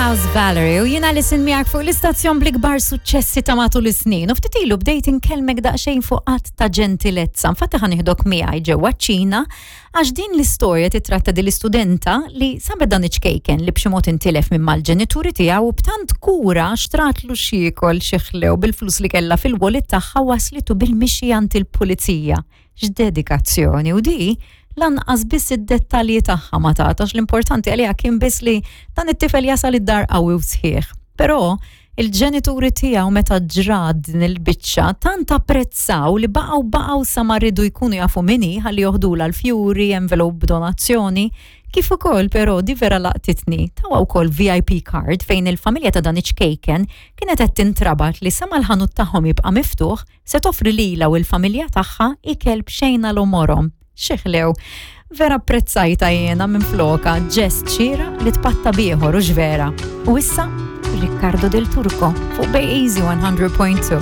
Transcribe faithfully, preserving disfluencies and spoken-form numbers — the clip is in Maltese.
House Valerie u jiena Alison miegħek fuq l-istazzjon bl-ikbar suċċessi ta' matul is-snin. U ftit ilu bdejt inkellmek daqsxejn fuq att ta' ġentilezza. Infatti ħa nieħdok miegħi ġewwa ċ-Ċina għax din l-istorja titratta din l-istudenta li sabet dan iċ-ċkejken li b'xi mod intilef minn mal-ġenituri tiegħu u b'tant kura xtratlu x'jiekol xi ħlew bil-flus li kellha fil-wallet tagħha waslitu bil-mixi għand il-pulizija. X'dedikazzjoni u di lanqas biss id-dettalji tagħha ma tagħtax l-importanti għaliha kien biss li dan it-tifel jasal id-dar qawwi u sħiħ. Però il-ġenituri tiegħu meta ġrat din il-biċċa tant apprezzaw li baqgħu baqgħu sa ma riedu jkunu jafu min hi ħalli joħdula l-fjuri, envelope b'donazzjoni, kif ukoll però di vera laqtitni tawha wkoll VIP card fejn il-familja ta' dan iċ-ċkejken kienet qed tintrabat li sa ma l-ħanut tagħhom jibqa' miftuħ se toffri lilha u l-familja tagħha ikel b'xejn għal għomorhom. Xi ħlew. Vera apprezzajta jiena minn floka ġest xieraq li tpatta b'ieħor u vera. U issa Riccardo Del Turco fuq Bay Easy one hundred point two.